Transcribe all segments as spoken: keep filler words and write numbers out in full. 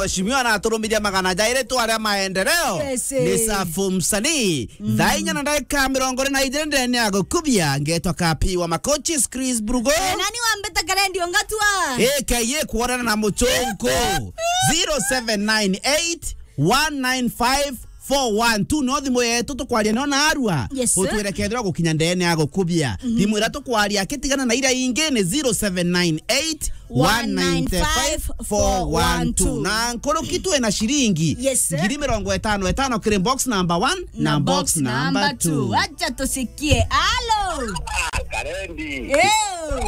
Mheshimiwa anaturumiria magana jairi tu aria maendeleo. Yes, eh. Ni safu msanii. Mm. Thaa inya na ndagika mirongo iri na ijiri ndene ya gukubia, ngetwa Kapi wa Makochi, Chris Brugo. Eh, nani wambita karendi ongatua? A K A kuonana na Muchunku. Zero seven nine eight one nine five four one two. No thimu yetu tukwaria no na arua. Yes, sir. Utwire kethira gukinya ndene ya gukubia. Mhm. Thimu ira tukwaria akitigana na ira ingi ni zero seven nine eight one nine five four one two. Na nkuruki twina ciringi. Yes, sir. Ngiri mirongo itano itano kiri box number one na box number two. Acha tusikie. Alo. Ah, Karendi. Ew.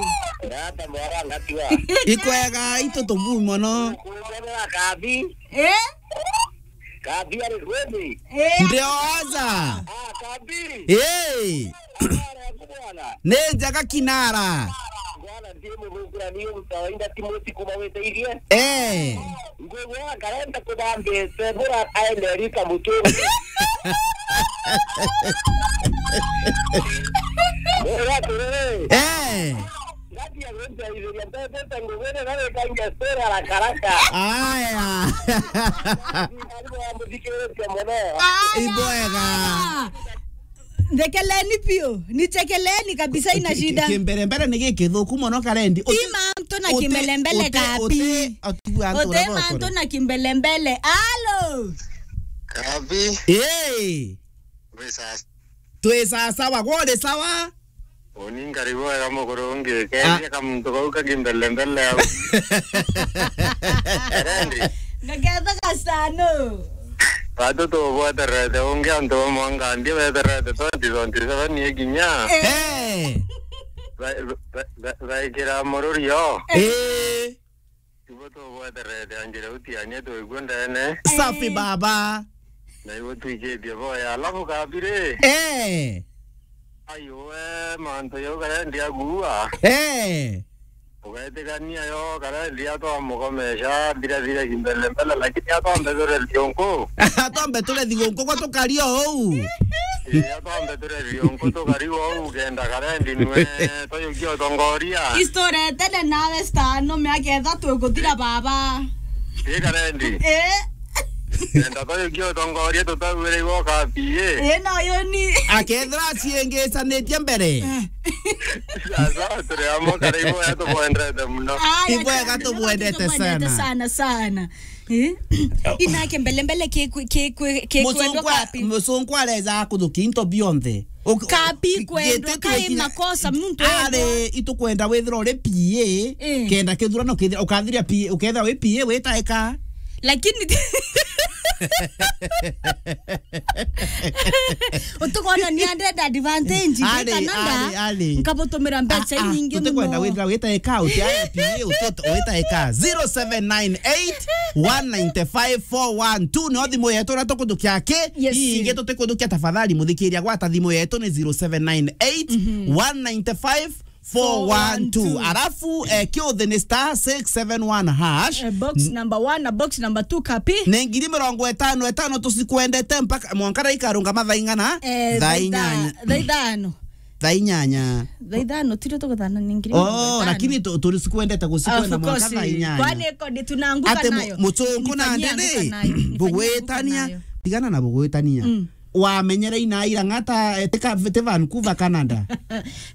Rata mwara ngatua. Ikwega itu tubu mono. Kumwona Kabi. Eh? Kabi ari kweli? Eh. Ndioza. Ah, Kabi. Eh. Habari yako bwana? Ni njega kinara. Bwana, ndiye mugukura niyo mtawaida Timothy kuma weteithie. Eh. Ngwigua akarenda kuthambite bura aende rika mutungi. Bura atiriri. Eh. Ngati ya gweteithia mbete tangugwene na wekangia story haraka haraka. Aya. Aribo amuthikiritie mono. Aya. Ibwega. Ndekeleni piu, nichekeleni kabisa, ina shida. Kimbelembele ni gikithuku mono Karendi. Ti mantu na kimbelembele Kapi. Uti mantu na kimbelembele. Alo. Kapi. Hey. Wisa. Twi sawa sawa, gwe uri sawa? Uni ngari bwega mukuru ungi. Ah. Keria kamuntu kau ka kimbelembele au. Karendi. Ngaketha gasano. Batu tubweterete ungi antu ba mwanga ndio beterete twenty twenty-seven ikinya. Eh. Eh. Ba-, ba-, ba-, baikira mururio. Eh. Ibo tubweterete anjire utiania twigua ndene. Safi, eh, baba. Na ibo twikitie boya. Alafu kabiri. Eh. Ai we mantu yau Karendi agua. Eh. Ugetikania yo Karendi atwamukomesha thira thira kimbele mbele, lakini atwambe ture thiunku. Atwambe ture thiunku kwa tukaria ou. Ii, atwambe ture thiunku tukari ou kenda Karendi nwe toyukia utongoria. Istorete ne nawe stano miaka ithatu iguthira baba. Ii Karendi. Eh. Enda toyukia utongoria tutauire igoka P A. Eh, no yoni. Akethira aciengicanitie mbere. Sasa turi amwe karibu ya tubwendete muno. Aya, ibwega, tubwendete sana sana. Eh? Inake mbele mbele ke kwe-, ke kwe-, ke kwendwa Kapi. Musungu areza kuthukia into bionthe. Uk-, Kapi ki-, kwendwa, giti kai tukinya makosa, muntu ari, itukwenda withira uri P A, eh, kenda kithurano kithira, ukathiria P A, ukethira wi P A witaika. Lakini utukona ni andenda advantage, ari, kana nda, ari, ari, nkabutumira mbeca, ah, ah, inyingi tutikwenda muno. Withira witaika, uti P A, uti-, witaika. Zero seven nine eight one nine five four one two, no thimu yetu na tukutukia ki? Yes. Ingi tutikuthukia, tafadhali muthikiria, gwata thimu yetu ni zero seven nine eight one nine five four one two. Four one two. Alafu, eh, kiuthi ni star six seven one hash. Eh, box number one na box number two Kapi. Ni ngiri mirongo itano itano tusikwendete mpaka mwanka ikarungama thaa ing'ana? Eh, thaa inyanya. Thaa ithano. Thaa inyanya. Thaa ithano, tiri tuguthana ni ngiri mirongo itano. Oh, lakini tu-, turi sikwendete gusikwenda mwanka thaa inyanya. Of course. Kwani iko ndi tunanguka nayo? Ate mu-, muchungu na ndene. Nifanyie anguka nayo. Nifanyie anguka nayo. Bugwitania, tigana na bugwitania. Mm. Wamenyere ina ira ng'ata, eh, tika, ti Vancouver, Canada.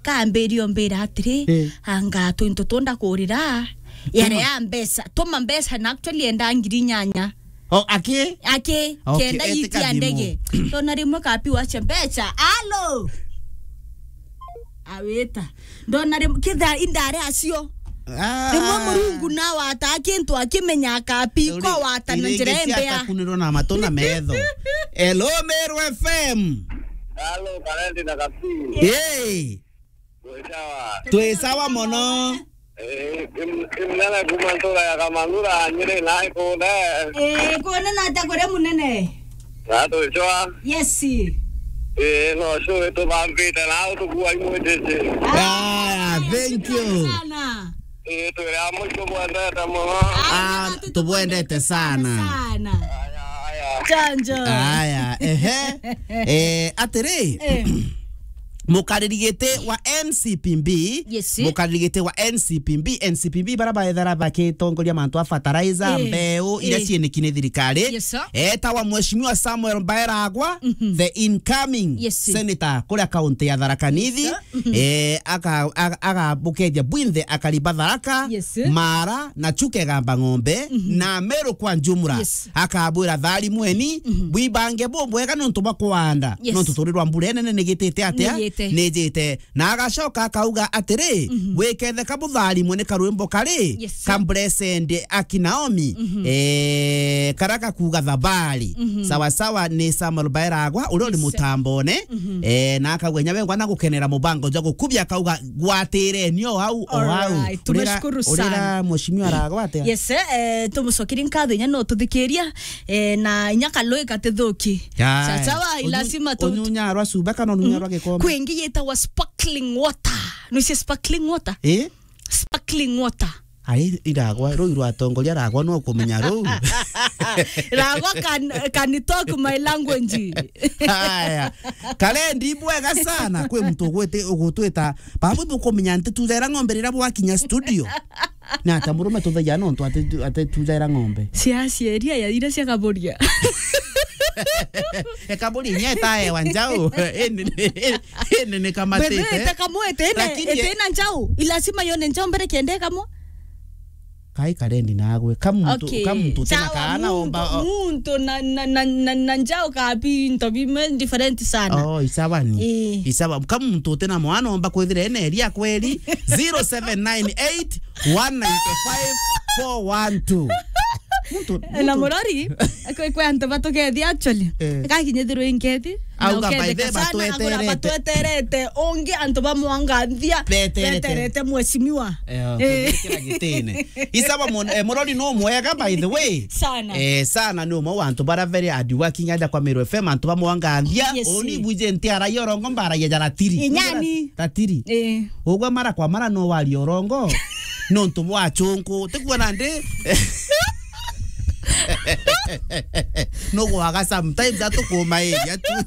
Kambirio mbira atiri, eh, anga twintu tunda kurira, yare ya mbeca, tuma mbeca na actually enda ngiri inyanya. O, aki? Aki, okay, kenda etika itia ndege. Tona rimwe Kapi wache mbeca. Alo! Awita. Ndona rimwe, kitha indare acio. Ah. Rimwe Murungu nawata kintu akimenya Kapi ko wata na njira imbea. Kunirwo na matu na metho. Hello, Meru F M. Halo, Karendi na Kapi. Hey. Twi sawa. Twi sawa mono. Eh, im-, imnene kuma ntura ya Kamangura, Nyeri na ikunde. Eh, kunene ata kuri munene? Na twichwa. Yes. Eh, no show tubambite na utukua imwitite. Ah, thank you. Sana. Eh, twire amwe tubwendete muno. Ah, tubwendete sana. Sana. Aya, aya. Chanjo. Aya, ehe. Eh, atiri. Eh. Mukariri giti wa N C P B, Yes. mukariri giti wa N C P B, N C P B bara baethera bakitongoria mantu a fertilizer, Eh, mbeu, iria eh. cieniki ni thirikari. Yes, sir. Etawa Mheshimiwa Samuel Baeragwa, Mhm. the incoming Yes. senator kuria kaunti ya Tharaka Nithi. Yes, sir. Mhm. Eh, aka-, aga-, agabukeria bwinthe akari ba Tharaka, Yes, sir. Mara, na Chuka Igamba Ng'ombe, Mhm. na Meru kwa njumra. Yes. Akabwira, "Tharimweni, Mhm. bwibange bubwega nontu bwa kuanda, Yes. nontu turi rwa mbura inene nigitite atia? Nijite. Nijite." Na agacoka akauga atiri, Mhm. "Gwiketheka butharimwe ni karwimbo kari, Yes, sir. ka Blessed Aki Naomi, Mhm. eh, kara gakuuga thabari." Mhm. Sawa sawa ni Samuel Baeragwa, uria uri Yes, sir. mutambone, Mhm. eh, na akauga, "Inya wengwa na gukenera mubango jwa gukubia," akauga, "Gwatireni o au, o au." Alright, Urira, tumeshukuru urira sana. Mheshimiwa aragwa atia? Yes, eh, tumucokeri nkatho inya no tuthikiria, eh, na inya kalui gatithuki. Aya. Sawa, Unyu-, lazima tu- unyunya rwa cuba kana unyunya Mhm. rwa gikombe? Kwi ingi yitagwa sparkling water. Nucia sparkling water? Eh? Sparkling water. Ai, iragwa, ruu rwa atongoria aragwa no kumenya ruu. Ragwa can, can talk my language. Haya. Kalendi bwega sana. Kwi muntu ugwiti-, ugutwita, "Babu, bukumenya nti tujaira ng'ombe riria bwakinya studio." Na ata murume tuthagia nontu ati tu-, ati tujaira ng'ombe. Cia cieria ya iria cia kaburia. E kaburia inya etaewa njau. Indi, indi ni kamatite. Bebe, ite kamwe, ite ina, Lakini ite ina njau. Ilasima yone njau mbere kende kamwe. Kai Kalendi nagwe. Ka muntu, Okay. ka muntu tena Sawa, kaana muntu, omba, o- muntu na, na, na, na, na njau kabi into bimwe different sana. Oh, isawa ni. Eh. Isawa. Ka muntu tena mwana omba kwithira ene eria kweri. Zero seven nine eight, one nine five, four one two. Muntu, Na muntu murori, kwi, kwi antu batukethia actually. Eh. Gakinyithirwe inkethi. Auga, "By the way, sana, agura batweterete." Batweterete. Ungi antu bamwanganthia. Beterete. Beterete mheshimiwa. Eh, Eh. Kila gitine. Isawa mon-, eh, murori no mwega, by the way. Sana. Eh, sana ni umwe wa antu bara very hard working aja kwa Meru F M, antu bamwanganthia. Yes. Uni buje nti araia orongo mbaraia ja ratiri. Inyani. Ratiri. Eh. Ugwe mara kwa mara no waria orongo. Nontu bwa chunku. Tikuona ndi? No gwaga sometimes atukuma area tu.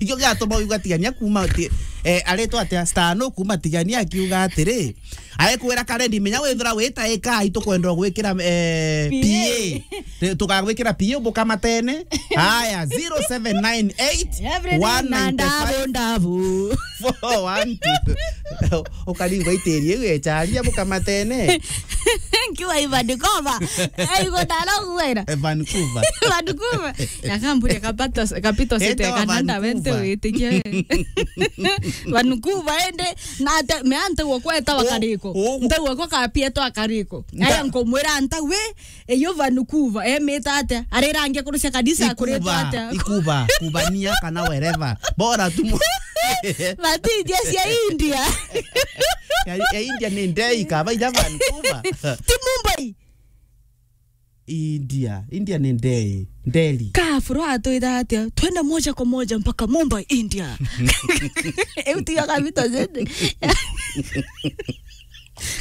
Ikio giatuma uga tigania kuma ti-, eh, aretwa atia? Star no kuma tigania akiuga atiri, aikwira Kalendi, menya withira wita ika, itukwenda gwikira, eh, P A. P A. Tukagwikira P A bukamatene. Haya, zero seven nine eight, Everything one nine five, na ndabu, ndabu. Four one two. Ukaringwa itiri iu echaria bukamatene. Nkiwa i Vancouver. Eh, igo ndara gwera. Eh, Vancouver. Vancouver. Yakamburia kapito, kapito sete Etawa Canada, wente Vancouver. Witikia. Vancouver ende, na ate, me ante gwo kweta wakariko. O, o. Nte gwo kwa kapieto akariko. Nta- Aya nkumwira nta we, eyo Vancouver, emita atia? Arirangia kurucia kanisa akuritwa Ikuba, atia? Ikuba, Kubania kana wherever. Bora tu mu- Matithia cia India. Ya, ya India ni ndei, kaba ija Vancouver. Ti Mumbai. India, India ni ndei, Delhi. Ka Afro atwira atia? Twende moja kwa moja mpaka Mumbai, India. Eu tiga kabito zende.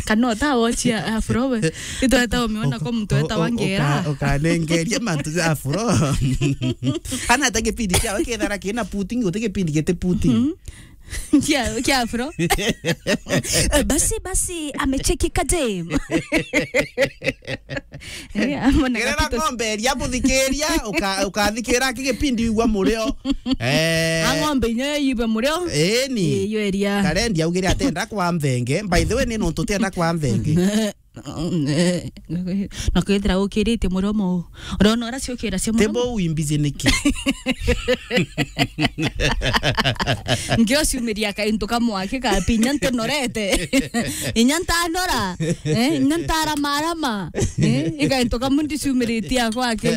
Kana utawochia Afro we. Itweta umiona kwa mtu eta wangera. Uka-, ukanengeria mantu ja Afro. Ana ta gipindi kiao kethara kina pudding, uti gipindi giti pudding. Mhm. Kia, kia Afro. Eh, basi, basi, amecheki kadem. Eh, amona Gerera kapito. Ng'ombe iria buthikiria, uka-, ukathikira ki gipindi igua murio. Eh. A ng'ombe inyo ibe murio. Eni. Eh, iyo eria. Kalendi augire atenda kwa mvenge. By the way, ni nontu tienda kwa mvenge. Na kwithira ukiritie muromo u. Urona ura ciukira cia muromo. Tebo wimbizi niki? Ngiociumiria kaintu kamwe aki kapi, inya ntinorete. Inya ntanora. Eh, inya ntaramarama. Eh, ikaintu kamwe ndiciumiritie akwa aki.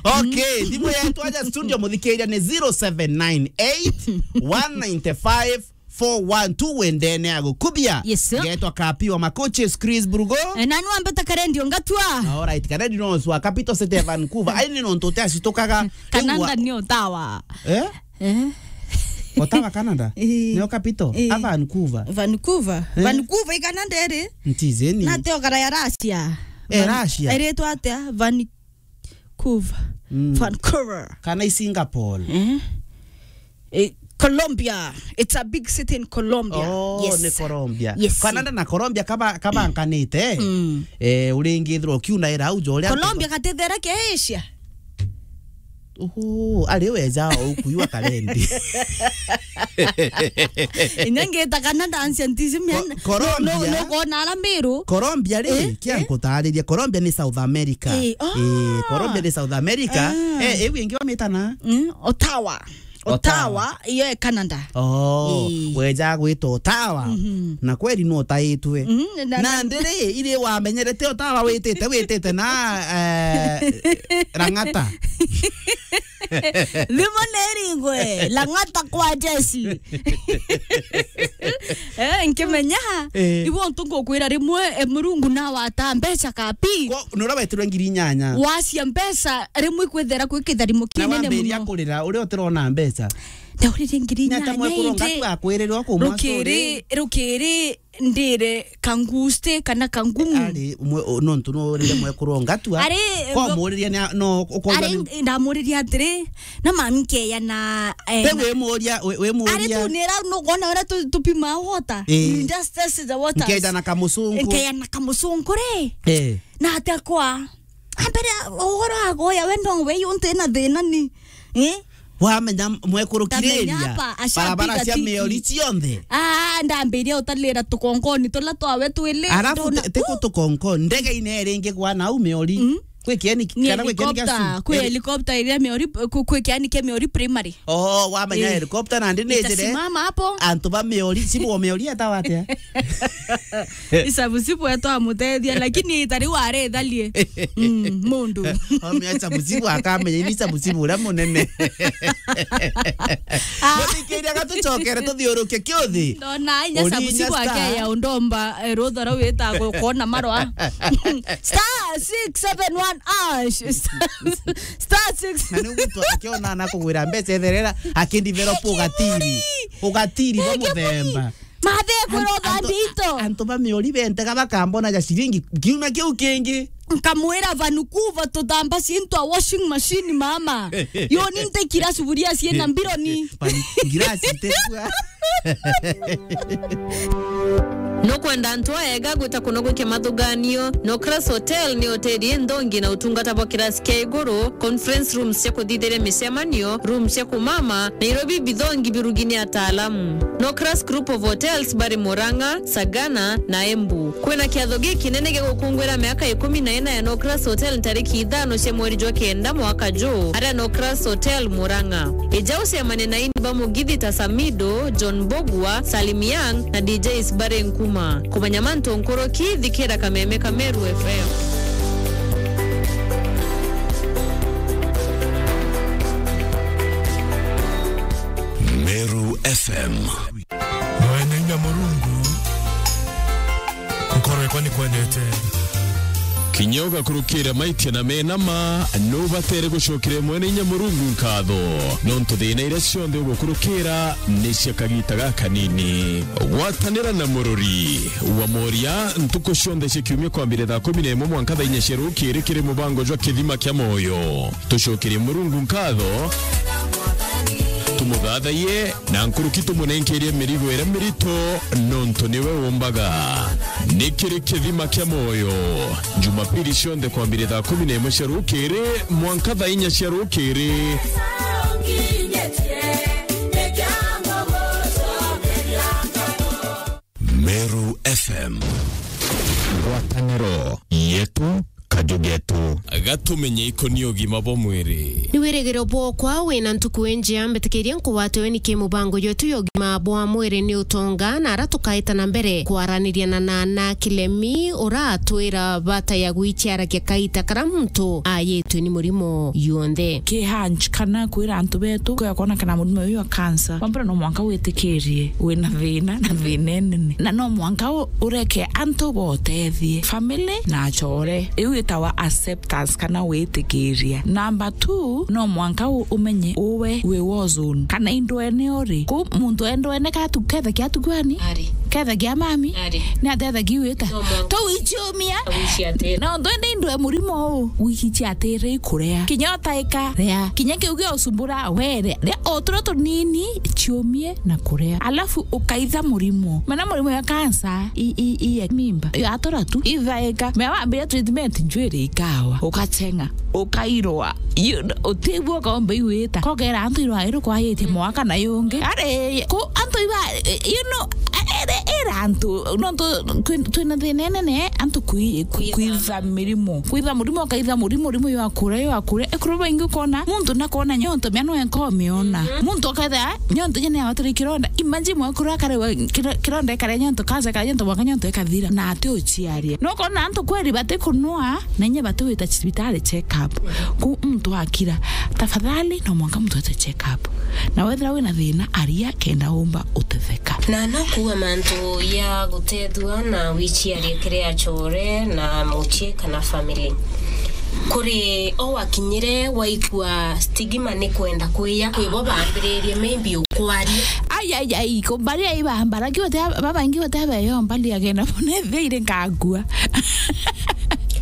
Okay, thimu yetu aja studio muthikiria ni zero seven nine eight, one nine five, four one two wendene ya gukubia. Yes, sir. Ngetwa Kapi wa Makoches, Chris Brugo. Eh, nani wambeta Kalendi ongatua? Alright, Kalendi no swa Capital City ya Vancouver. Ai ni nontu te acitukaga. Canada ni Ottawa. Eh? Eh? Ottawa, Canada? Eh. Nio capital? Eh. A Vancouver? Vancouver. Eh? Vancouver i Canada iri? Ntizeni. Na te okara ya Russia. Eh, Van-, Russia. Iritwa atia? Van- Vancouver. Mm. Vancouver. Kana i Singapore. Eh? Eh, Colombia. It's a big city in Colombia. Oh, yes. Ni Colombia. Yes. Canada na Colombia kaba-, kabankanite. Mm. Eh, uringithirwa ukiuna ira au, jo uria Colombia gatithera kia Asia. Uhu, ari weja o ukuiwa karendi. Inya ngita Canada ancient is men. Ko-, Colombia. No, no, no, kona ara Meru. Colombia ri, eh, kia eh, nkutariria. Colombia ni South America. Eh, ah. Eh, Colombia ni South America. Ah. Eh, iu ingi wamitana? Mm, Ottawa. Ottawa. Ottawa, iyo e Canada. Oh, ii, weja gwita Ottawa. Mhm. Na kweri no utaitwe. Mhm, na, na, na ndiri, iri wamenyerete Ottawa witite, witite na, eh, Lang'ata. Thimo neringwe, Lang'ata kwa jeshi. Eh, nkimenya, eh, ibo ntu ngukwira rimwe, eh, Murungu nawata mbeca kapi. Ko, nuria wetirwe ngiri inyanya. Wacia mbeca, rimwe ikwithira kwi kitharimo kinene muno. Na wambiria kurira, uria utirona mbeca. Ndaurire ngiri inyanya indi. Ni ata mwekuru ngatu akwirire o kumwa story? Rukiri, rukiri ndire kangusti kana kangumu. Ari, mwe-, o, nontu nurire mwekuru ngatua. Ari, ko muriria ni a-, no, ukoja ari, ni ndamuriria atiri, na mami nkeya na, eh, te na wimuria, wi-, wimuria. Ari tu nira nukona uria tu-, tupima water. Eh. You just test the waters. Nkeja na kamusunku. Nkeja na kamusunku ri. Eh. Na atia kwa. Ambere uhoro agoya we ndongwe yuntu ina thina ni. Eh? Wamenya mwekuru kiriria, apa, barabara cia Miori cionthe. Ah, ndambiria utalira tukonkoni tula twawe twili. Arafu ndona, te-, tiku uh, tukonkoni, ndege ine ringi kwa nau Miori. Mm. Kwi kieni, ni kana kwi kieni kia helicopter, cukuru. Kwi helicopter iria Miori, ku-, kwi kieni kia Miori primary. Oh, wamenya, eh, helicopter nandi ni njire. Itasimama hapo. Antu ba Miori, sibu wa Miori etawa atia? Isabusibu etwa amutethia, lakini itari warethalie. Mm, mundu. Ome Isabusibu akamenya, ini Isabusibu uria munene. Ah. Muthikiria gatucokere tuthiuruke kiuthi. Ndona inya uri Isabusibu inya star. Akeya undomba, eh, rutha rau witagwo kona marwa. Star six seven one hash. Star, star six. Na ni gutu akiona na kugwira mbeca etherera, akindiveropa ugatiri. Ugatiri ba muthemba. Mathe kwira uthambi ito. Antu ba Miori bentega bakambona ja ciringi kiumia kiu kingi. Nkamwira Vancouver tuthamba cintu a washing machine mama. Yo ni ntekira suburia ciena mbironi. Ngirasi itekua. Nukwenda antu aega gwita kuno gwikia mathuganio? Nocras Hotel ni hoteli inthongi na utungata bwa kirasi kia iguru, conference rooms cia kuthithiria micemanio, rooms cia kumama, na irio bibithongi birugi ni ataalamu. Nocras Group of Hotels bari Murang'a, Sagana na Embu. Kwina kiatho gikinene gia gukungwira miaka ikumi na ina ya Nocras Hotel ntariki ithano cia mweri jwa kenda mwaka juu, aria Nocras Hotel Murang'a. Ija ucemanie na ini ba Mugithi ta Samido, John Bogwa, Salim Young na D Js bari Nkuma. Kumenya mantu nkuruki, thikira kameme ka Meru F M. Meru F M. Mwene inya Murungu, nkoro yakwa ni kwendete. Kinya ugakurukira maitia na mena ma, nubatere gucokeria Mwene inya Murungu nkatho, nontu thina iria cionthe ugukurukira ni cia kagita gakanini. Gwatanira na murori wa moria ntuku cionthe cia kiumia kwambire thaa kumi na imwe mwanka thaa inya cia rukiri kiri mubango jwa Kithima kia Moyo. Tucokerie Murungu nkatho, tumuthathaiye, na nkuruki tumunenkerie mirigo iria mirito, nontu niwe umbaga. Ni kiri Kithima kia Moyo, Jumapili cionthe kwambire thaa kumi na imwe cia rukiri mwanka thaa inya cia rukiri. Meru F M. Ngwataniro yetu, kaju getu. Gatumenye ikoni ugima bwa mwiri. Ni wirigiro bwokwa wina ntuku injia, mbitikirie nkugwate weni ki mubango yetu ya ugima bwa mwiri ni utonga, na ara tukaita na mbere kwaraniria na Nana Kilemi, uratwira bata ya gwichiaragia kaita kara muntu ayitwe ni murimo yonthe. Ki hunch kana kwira antu betu, kwira kwona kana murimo uyu wa cancer, wa mbere no mwanka witikirie wina thina na thina inene, na no mwanka u-, ureke antu botethie, family na achore. Iu itawa acceptance kana witikiria. Number two, no mwanka u-, umenye uwe wi war zone kana indwene uri. Ku muntu endwene katu kethe kiatu kwani? Ari. kethagia mami. Ari. Ni atethagia wita. No mwanka. Tou ichiumia. Wichi atiri. Na ndo ende indwe murimo u. Wichi atiri ikurea. Kinya utaika rea. Kinya kiu gia usumbura were. Ria otura tunini chiumie na kurea. Alafu ukaitha murimo. Mana murimo ya kansa, i, i, i, ya mimba. Yo atura tu. Ithaika. Mea wambire treatment njwiri ikawa. Ukachenga. Ukairwa. You know, utigua ukaomba iwita. Kogera antu irwa iru kwayitie mwaka na yungi. Ari, ku antu iba, you know, ere, ere antu, nontu twi-, twina thina inene, antu kwi-, kwi-, kwitha mirimo. Kwitha murimo, ukaitha murimo, murimo yo akura, yo akura. Ekuru baingi ukona, muntu nakona nyonto, mea no enka umiona. Mhm. Muntu aketha, nyonto nyene ya waturi kironda. Imagine mwakuru akare wa, kiro-, kironda ikare nyonto, kansa ikare nyonto, mwaka nyonto ikathira. Na ati uchiaria. No kona antu kweri bati kunua, na inya bati wita cibitari check up. Ku muntu akira, tafadhali no mwanka muntu ete check up. Na wethira wina thina, aria kenda umba utetheka. Na no kuuga mantu ya gutethua na wichiarie kiri achore na muchie kana family. Kuri o wakinyire waigua stigma ni kwenda kwiya, kwi bo bambiririe maybe ukwaria. Ai, ai, ai, kumbaria iba, mbara kiu te, baba ingi gute abeyo mbali agenda bune thire nkagua.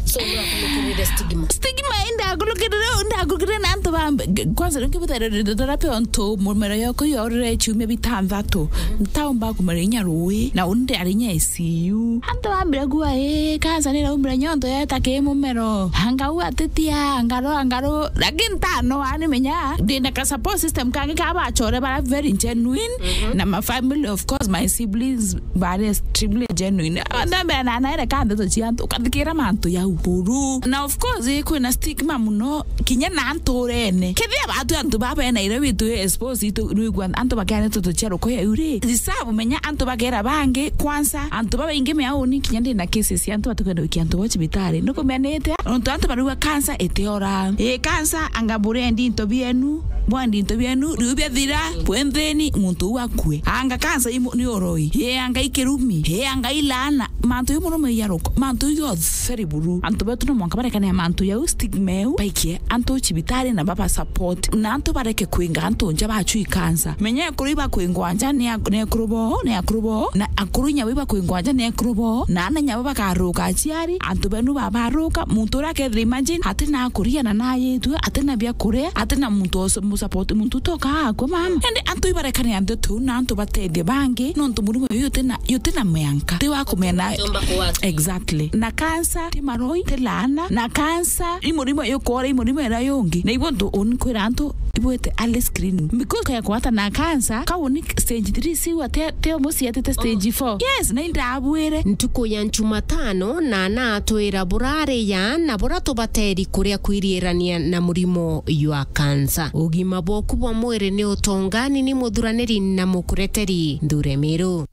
So, urakulukirire stigma. Stigma indakulukirire, indakulukirire na antu ba, kwanza ringi butere radiotherapy ontu mumero yoko yorire chiumia bitanthatu. Ntaumba kumara inya rui, na undi ari inya I C U. Antu bambire kuuga, "Ii, kansa niraumire nyonto yeta ki mumero. Angau atitia, angaru, angaru." Lakini ntanoa ni menya, ndina ka support system kangi ka bachore bara very genuine. Mhm. Na my family, of course, my siblings, bari extremely genuine. Ndambira na naere ka ndeto cia antu, ukathikira mantu ya uru. Na of course, kwina stigma muno, kinya na nturene. Kethia batu antu baba ena ire witu expose itu, nwigua antu bakea ndeto cia ruko ya uri. Deserve menya antu bakera bangi, kwanza, antu babaingi meauni, kinya ndina cases ya antu batukwenda wikia antu bo cibitari. Nukumenete, nontu antu barigua kansa itiora. Ii, kansa anga burendi into bienu, bwendi into bienu, riu biathira, bwenthini, muntu uu akue. Anga kansa imu-, ni uroi. Ii, anga ikirumi. Ii, anga ilaana. Mantu yu muno maiya ruko. Mantu yu yonthe ri buru. Antu betu no mwanka barekane na mantu yau, stigma eu, baikie antu cibitari na baba support. Na antu bareke kwinga antu nja bachui kansa. Menya ekuru iba kwingwa nja ni ak-, ni ekuru bo, ni akuru bo, na akuru inya iba kwingwa nja ni ekuru bo, na ana inya bakaruka aciari, antu benu babaruka, muntu uria akethira imagine, atina akuria na nayitue, atina bia kuria, atina muntu o mu support, muntu utoka akwa mama. Ende antu ibarekane antu tu, na antu batethie bangi, nontu murimo uyu utina, utina mianka. Ti wa kumena. Tumba kuwatu. Exactly. Na kansa, ti maroi, ti laana, na kansa, i murimo yukora, i murimo ira yungi. Na ibo ntu uni kwira antu, ibwete early screening. Because kaya kwata na kansa, kau ni stage three, si wa te, te musi atite stage four. Yes, na indabwire. Ntuku ya Njumatano, na natwira burari ya na bura tubateri kuria kwiriirania na murimo jwa kansa. Ugima bwaku bwa mwiri ni utonga, ni ni muthuraniri na mukureteri Nthure Miru.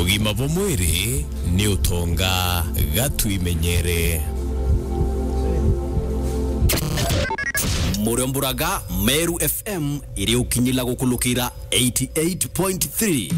Ugima bwa mwiri ni utonga, ga twimenyere. Muriomburaga Meru F M iri ukinyila gukulukira eighty eight point three.